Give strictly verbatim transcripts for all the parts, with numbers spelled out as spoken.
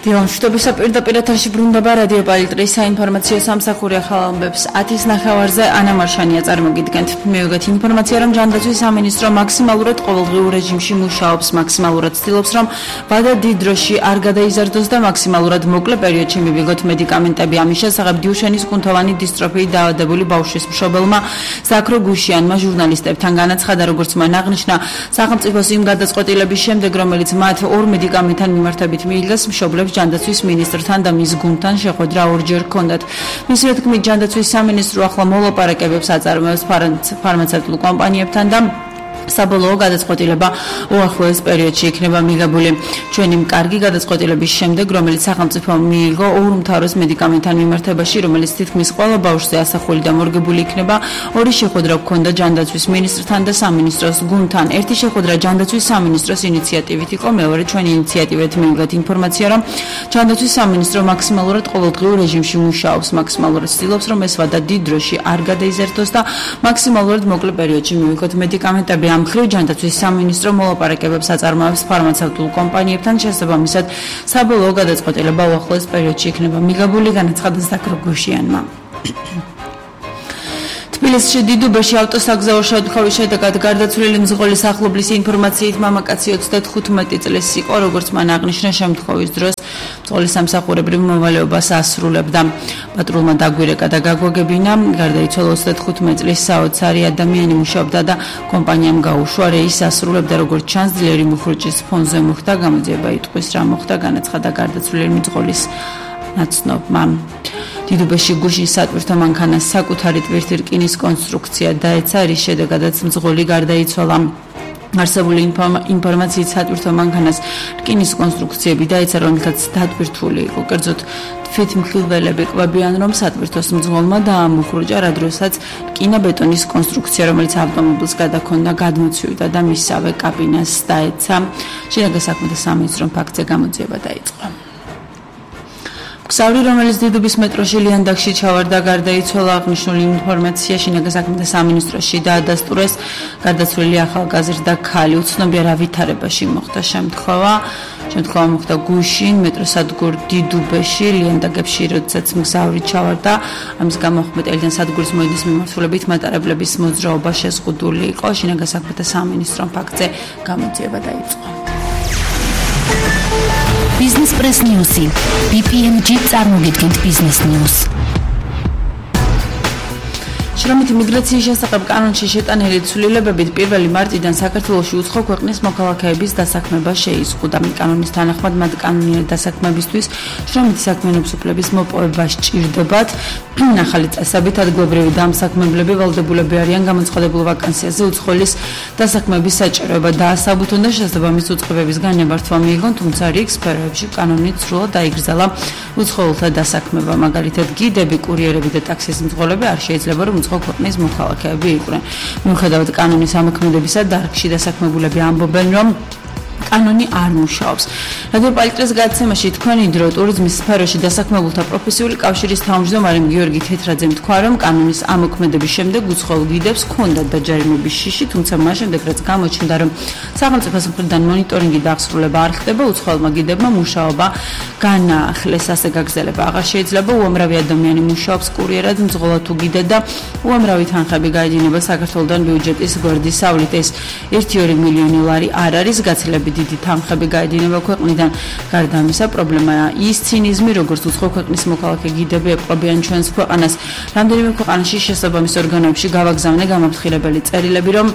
Დილამშვიდობის პირდაპირ ეთერში ბრუნდება რადიო პალიტრის საინფორმაციო სამსახური ახალ ამბებს ათის ნახევარზე ანა მარშანია წარმოგიდგენთ. მივიღეთ ინფორმაცია, რომ ჯანდაცვის სამინისტრო მაქსიმალურად ყოველდღიურ რეჟიმში მუშაობს, მაქსიმალურად ცდილობს, რომ ვადა დიდ დროში არ გადაიზარდოს და მაქსიმალურად მოკლე პერიოდში მივიღოთ მედიკამენტები. ამის შესახებ დიუშენის კუნთოვანი დისტროფიით დაავადებული ბავშვის მშობელმა ზაქრო გუშიანმა ჟურნალისტებთან განაცხადა, როგორც მან აღნიშნა, სახელმწიფოს იმ გადაწყვეტილების შემდეგ, რომელიც მათ ორ მედიკამენტთან მიმართებით მიიღეს, მშობლებს ჯანდაცვის მინისტრთან და მის გუნდთან შეხვედრა ორჯერ ჰქონდათ. მისი თქმით, ჯანდაცვის სამინისტრო ახლა მოლაპარაკებებს აწარმოებს ფარმაცევტულ კომპანიებთან და საბოლოო გადაწყვეტილება უახლოეს პერიოდში იქნება მიღებული. ჩვენი კარგი გადაწყვეტილების შემდეგ, რომელიც სახელმწიფო მიიღო ორ უმთავრეს მედიკამენტთან მიმართებაში, რომელიც თითქმის ყველა ბავშვზე ასახული და მორგებული იქნება, ორი შეხვედრა ჰქონდა ჯანდაცვის მინისტრთან და სამინისტროს გუნდთან. ერთი შეხვედრა ჯანდაცვის სამინისტროს ინიციატივით იყო, მეორე ჩვენი ინიციატივით მივიღეთ ინფორმაცია, რომ ჯანდაცვის სამინისტრო მაქსიმალურად ყოველდღიურ რეჟიმში მუშაობს, მაქსიმალურად ცდილობს, რომ ეს ვადა დიდ დროში არ გადაიზარდოს და მაქსიმალურად მოკლე პერიოდში მივიღოთ მედიკამენტები. ამ მხრივ ჯანდაცვის სამინისტრო მოლაპარაკებებს აწარმოებს ფარმაცევტულ კომპანიებთან, შესაბამისად საბოლოო გადაწყვეტილება უახლოეს პერიოდში იქნება მიღებული, განაცხადა ზაქრო გუშიანმა. თბილისში დიდუბეში ავტოსაგზაო შემთხვევის შედეგად გარდაცვლილი მძღოლის ახლობლის ინფორმაციით მამაკაცი ოცდათხუთმეტი წლის იყო, როგორც მან აღნიშნა შემთხვევის დროს მძღოლის სამსახურებრივ მოვალეობას ასრულებდა. პატრულმა დაგვირეკა და გაგვაგებინა, გარდაიცვალა ოცდათხუთმეტი წლის საოცარი ადამიანი მუშაობდა და კომპანიამ გაუშვა რეისს ასრულებდა, როგორც ჩანს ძლიერი მუხრუჭის ფონზე მოხდა გამოძიება იტყვის რა მოხდა, განაცხადა გარდაცვლილი მძღოლის ნაცნობმა. დიდუბეში გუშინ სატვირთო მანქანას საკუთარი ტვირთი რკინის კონსტრუქცია დაეცა, რის შედეგადაც მძღოლი გარდაიცვალა. არსებული ინფორმაციით სატვირთო მანქანას რკინის კონსტრუქციები დაეცა, რომელთაც დატვირთული იყო. კერძოდ თვითმხილველები ყვებიან, რომ სატვირთოს მძღოლმა დაამუხრუჭა, რა დროსაც რკინა-ბეტონის კონსტრუქცია, რომელიც ავტომობილს გადაქონდა, გადმოცივდა და მისსავე კაბინას დაეცა. შინაგან საქმეთა სამინისტრომ ფაქტზე გამოძიება დაიწყო. ქსავრი, რომელიც დიდუბის მეტროში ლიანდაგში ჩავარდა, გარდაიცვალა. აღნიშნული ინფორმაცია შინაგან საქმეთა სამინისტროში დაადასტურეს. გარდაცვლილი ახალგაზრდა ქალი უცნობია რა ვითარებაში მოხდა შემთხვევა. შემთხვევა მოხდა გუშინ მეტროსადგურ დიდუბეში ლიანდაგებში, როდესაც მგზავრი ჩავარდა. ამის გამო ხმეტელიდან სადგურის მოედნის მიმართულებით მატარებლების მოძრაობა შეზღუდული იყო. შინაგან საქმეთა სამინისტრომ ფაქტზე გამოძიება დაიწყო. Business Press News. ბი პი ემ ჯი წარმოგიდგენთ Business News. შრომითი მიგრაციის შესახებ კანონში შეტანილი ცვლილებებით პირველი მარტიდან საქართველოში უცხო ქვეყნის მოქალაქეების დასაქმება შეიზღუდა. კანონის თანახმად მათ კანონიერი დასაქმებისთვის შრომითი საქმიანობის უფლების მოპოვება სჭირდებათ. ახალი წესებით ადგილობრივი დამსაქმებლები ვალდებულები არიან გამოცხადებულ ვაკანსიაზე უცხოელის დასაქმების საჭიროება დაასაბუთონ და შესაბამის უწყებების განმარტვა მიიღონ, თუმცა რიგ სფეროებში კანონით სრულად დაიგრძალა უცხოელთა დასაქმება. მაგალითად, გიდები, კურიერები და ტაქსის მძღოლები არ შეიძლება, რომ უცხო ქვეყნის მოქალაქეები იყვნენ. მიუხედავად კანონის ამოქმედებისა, დარგში დასაქმებულები ამბობენ, რომ კანონი არ მუშაობს. რადიო პალიტრის გადაცემაში თქვენი დრო ტურიზმის სფეროში დასაქმებულთა პროფესიული კავშირის თავმჯდომარე გიორგი თეთრაძემ თქვა, რომ კანონის ამოქმედების შემდეგ უცხოელ გიდებს ჰქონდათ დაჯარიმების შიში, თუმცა მას შემდეგ რაც გამოჩნდა, რომ სახელმწიფოს მხრიდან მონიტორინგი და აღსრულება არ ხდება, უცხოელმა გიდებმა მუშაობა განაახლეს. ასე გაგრძელება აღარ შეიძლება. უამრავი ადამიანი მუშაობს კურიერად, მძღოლად თუ გიდად და უამრავი თანხები გაედინება საქართველოსთან ბიუჯეტის გვერდისავლით. ეს ერთი ორი მილიონი ლარი არ არის, გაცილებით დიდი თანხები გაედინება ქვეყნიდან. გარდა ამისა, პრობლემაა ის ცინიზმი, როგორც უცხო ქვეყნის მოქალაქე გიდები ეპყრობიან ჩვენს ქვეყანას. რამდენიმე ქვეყანაში შესაბამის ორგანოებში გავაგზავნე გამაფრთხილებელი წერილები, რომ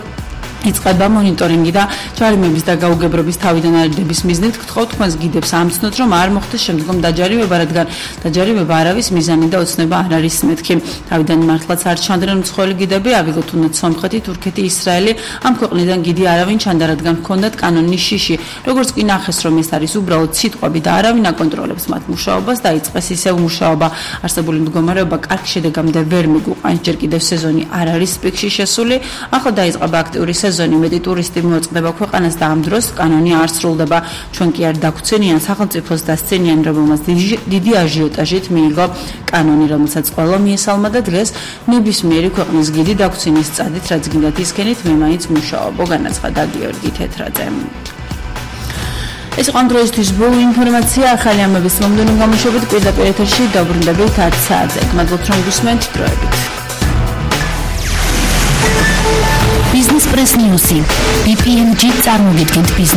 იწყება მონიტორინგი და ჯარიმების და გაუგებრობის თავიდან არიდების მიზნით გთხოვთ თქვენს გიდებს ამცნოთ, რომ არ მოხდეს შემდგომ დაჯარიმება, რადგან დაჯარიმება არავის მიზანი და ოცნება არ არის მეთქი. თავიდან მართლაც არ ჩანდნენ უცხოელი გიდები, ავიღოთ უნდათ სომხეთი, თურქეთი, ისრაელი. ამ ქვეყნიდან გიდი არავინ ჩანდა, რადგან ჰქონდათ კანონის შიში. როგორც კი ნახეს, რომ ეს არის უბრალოდ სიტყვები და არავინ აკონტროლებს მათ მუშაობას, დაიწყეს ისევ მუშაობა. არსებული მდგომარეობა კარგ შედეგამდე ვერ მიგვიყვანს. ჯერ კიდევ სეზონი არ არის პიკში შესული. ახლა დაიწყება აქტიური სეზონი, მეტი ტურისტი მოეწყდება ქვეყანას და ამ დროს კანონი არ სრულდება. ჩვენ კი არ დაგვცენიან სახელმწიფოს დასცენიან, რომელმაც დიდი აჟიოტაჟით მიიღო კანონი, რომელსაც ყველა მიესალმა და დღეს ნებისმიერი ქვეყნის გიდი დაგვცენის წადით, რაც გინდათ ისქენით, მე მაინც მუშაობ, განაცხადა გიორგი თეთრაძე. ეს იყო დროისთვის ბოლო ინფორმაცია ახალი ამბების მომდევნო გამოშვებით პირდაპირ ეთერში დაბრუნდებით ათ საათზე. გმადლობთ რომ გისმენთ დროებით. Business Press News. ბი პი ენ ჯი წარმოგიდგენთ ბიზნეს